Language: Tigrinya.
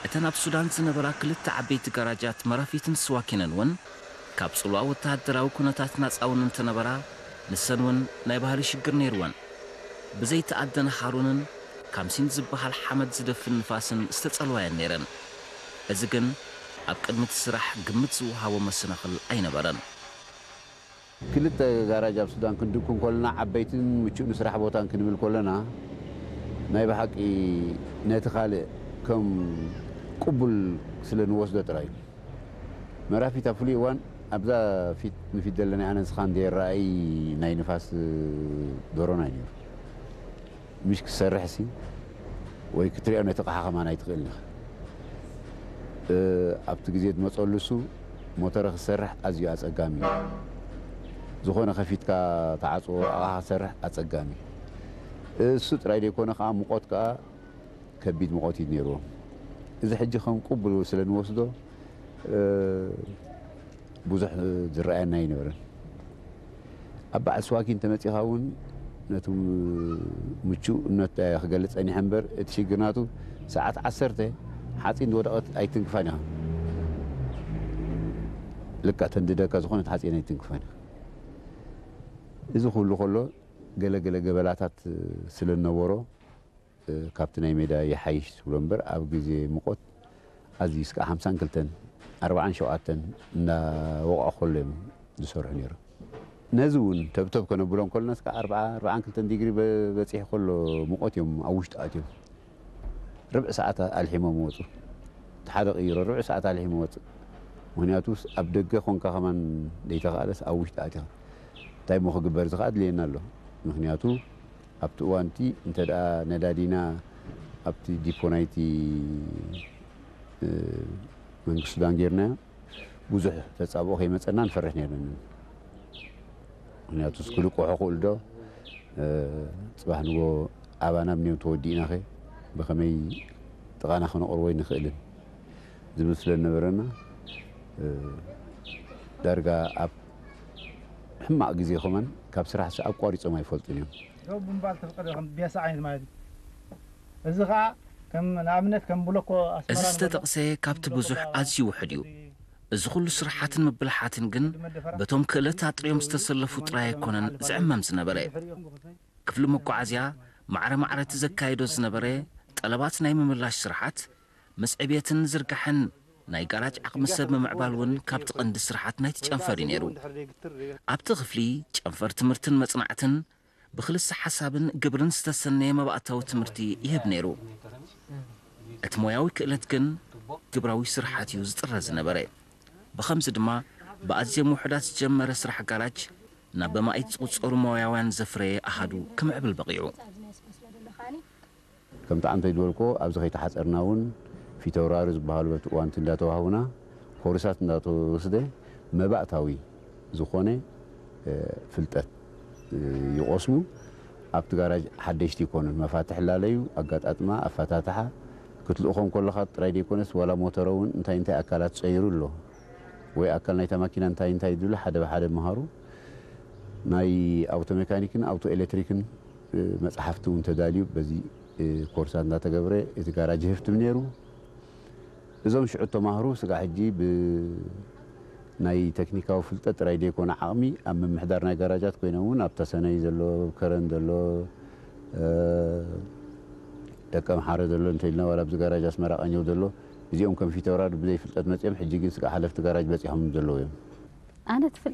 እተን ኣብ ሱዳን ዝነበራ ክልተ ዓበይቲ ጋራጃት መራፊትን ስዋኪነን እውን ካብ ጽልዋ ወተሃደራዊ ኩነታት ናጻ እውን እንተነበራ፣ ንሰን እውን ናይ ባህሪ ሽግር ነይርወን። ብዘይተኣደነ ሃሩንን ካምሲን ዝበሃል ሓመድ ዝደፍን ንፋስን ዝተጸልዋየን ነይረን። እዚ ግን ኣብ ቅድሚ እቲ ስራሕ ግምት ዝወሃቦ መሰናኽል ኣይነበረን። ክልተ ጋራጅ ኣብ ሱዳን ክንድኩ እንከለና ዓበይትን ምቹእ ንስራሕ ቦታን ክንብል ከለና ናይ ብሓቂ ነቲ ካልእ ከም ቅቡል ስለ ንወስዶ ጥራይ እዩ። መራፊት ኣብ ፍሉይ እዋን ኣብዛ ፊት ንፊት ዘለና ኣነ ንስኻን ዘይረኣይ ናይ ንፋስ ዶሮና እዩ ነይሩ። ምሽ ክትሰርሕ ሲ ወይ ክትሪኦ ነቲ ኣቕሓ ከማን ኣይትኽእልን ኢኻ። ኣብቲ ግዜ ዝመፀሉ እሱ ሞተረ ክትሰርሕ ኣዝዩ ኣፀጋሚ እዩ። ዝኾነ ከፊትካ ተዓፅዎ ኣቕሓ ክትሰርሕ ኣፀጋሚ እዩ። እሱ ጥራይ ዘይኮነ ከዓ ሙቐት ከዓ ከቢድ ሙቐት እዩ ነይርዎም። እዚ ሕጂ ከም ቅቡል ስለ ንወስዶ ብዙሕ ዝረኣየና ኣይነበረን። ኣብ በዓል ስዋኪን ተመፂኻ እውን ነቲ ምቹእነት ክገልፅ ፀኒሐ እምበር እቲ ሽግር ናቱ ሰዓት ዓሰርተ ሓፂን ዝወደቐት ኣይትንክፋን ኢኻ። ልክዕ ተንድደካ ዝኾነት ሓፂን ኣይትንክፋን ኢኻ። እዚ ኩሉ ከሎ ገለ ገለ ገበላታት ስለ ዝነበሮ ካብቲ ናይ ሜዳ ይሓይሽ ትብሎ እምበር ኣብ ግዜ ሙቐት ኣዝዩ እስካዕ ሓምሳን ክልተን ኣርባዓን ሸውዓተን እናወቕዖ ከሎ እዮም ዝሰርሑ ነይሮም። ነዚ እውን ተብተብ ከነብሎ እንከለና እስካዕ ኣርባዓ ኣርባዓን ክልተን ዲግሪ በ- በፂሑ ከሎ ሙቐት እዮም ኣብ ውሽጢ ኣትዮም ርብዒ ሰዓት ኣልሒሞም ወፁ። እቲ ሓደ ቅይሮ ርብዒ ሰዓት ኣልሒሙ ወፅእ። ምክንያቱ ኣብ ደገ ኮንካ ከማን ዘይተኻእለስ ኣብ ውሽጢ ኣቲኻ እንታይ እሞ ክግበር እዚ ከዓ ኣድልየና ኣሎ። ምክንያቱ ኣብቲ እዋንቲ እንተ ደኣ ነዳዲና ኣብቲ ዲፖ ናይቲ መንግስቲ ሱዳን ጌርናዮ ብዙሕ ተጻብኦ ከይመጸና ንፈርሕ ነርና። ምክንያቱ ክልቅሑ ክእሉ ዶ ጽባሕ ንጎ ኣባና ብንዮም ተወዲእናኸ ብኸመይ ጥቓና ክነቕርቦ ኣይንኽእልን ዝብል ስለ ዝነበረና ዳርጋ ኣብ ሕማቕ ግዜ ከማን ካብ ስራሕ ኣቋሪጾም ኣይፈልጡን እዮም። ዶ ብምባል ተፍቀደ ከም ቢያሳ ዓይነት ማለት እዩ። እዚ ከዓ ከም ንኣብነት ከም ብሎኮ ኣስመራ እዚ ዝተጠቕሰ ካብቲ ብዙሕ ኣዝዩ ውሑድ እዩ። እዚ ኩሉ ስርሓትን ምብልሓትን ግን በቶም ክእለት ኣጥርዮም ዝተሰለፉ ጥራይ ኣይኮነን ዝዕመም ዝነበረ። ክፍሊ መጓዓዝያ ማዕረ ማዕረ እቲ ዘካይዶ ዝነበረ ጠለባት ናይ ምምላሽ ስርሓት ምስ ዕብየትን ዝርጋሐን ናይ ጋራጅ ዓቕሚ ሰብ ምምዕባል እውን ካብቲ ቀንዲ ስርሓት ናይቲ ጨንፈር እዩ ነይሩ። ኣብቲ ክፍሊ ጨንፈር ትምህርትን መጽናዕትን ብኽልሰ ሓሳብን ግብርን ዝተሰነየ መባእታዊ ትምህርቲ ይህብ ነይሩ። እቲ ሞያዊ ክእለት ግን ግብራዊ ስርሓት እዩ ዝጥረ ዝነበረ። ብኸምዚ ድማ ብኣዝዮም ውሑዳት ዝጀመረ ስራሕ ጋራጅ ናብ በማኢት ዝቑጸሩ ሞያውያን ዘፍረየ ኣሃዱ ክምዕብል በቒዑ። ከምቲ ዓንተይ ዝበልኮ ኣብዚ ከይተሓፀርና እውን ፊተውራሪ ዝበሃሉ በቲ እዋንቲ እንዳተዋህቡና ኮርሳት እንዳተወስደ መባእታዊ ዝኾነ ፍልጠት ይቆስሙ። ኣብቲ ጋራጅ ሓደሽቲ ይኮኑን መፋትሕ ላለዩ ኣጋጣጥማ ኣፈታትሓ ክትልእኾም ከለኻ ጥራይ ዘይኮነስ ዋላ ሞተሮ እውን እንታይ እንታይ ኣካላት ፀይሩ ኣሎ ወይ ኣካል ናይታ ማኪና እንታይ እንታይ ዝብሉ ሓደ ብሓደ መሃሩ። ናይ ኣውቶ ሜካኒክን ኣውቶ ኤሌክትሪክን መፅሓፍቲ እውን ተዳልዩ በዚ ኮርሳት እንዳተገብረ እቲ ጋራጅ ይህፍትም ነይሩ። እዞም ሽዑ ተማህሩ ስጋዕ ሕጂ ብናይ ቴክኒካዊ ፍልጠት ጥራይ ዘይኮነ ዓቕሚ ኣብ ምምሕዳር ናይ ጋራጃት ኮይኖም እውን ኣብታ ሰነይ ዘሎ ከረን ዘሎ ደቀ ምሓረ ዘሎ እንተኢልና ዋላ ኣብዚ ጋራጅ ኣስመራ ቀኘው ዘሎ እዚኦም ከም ፊተውራሪ ብዘይ ፍልጠት መፅኦም ሕጂ ግን ስጋዕ ሓለፍቲ ጋራጅ በፂሖም ዘለዉ እዮም። ኣነ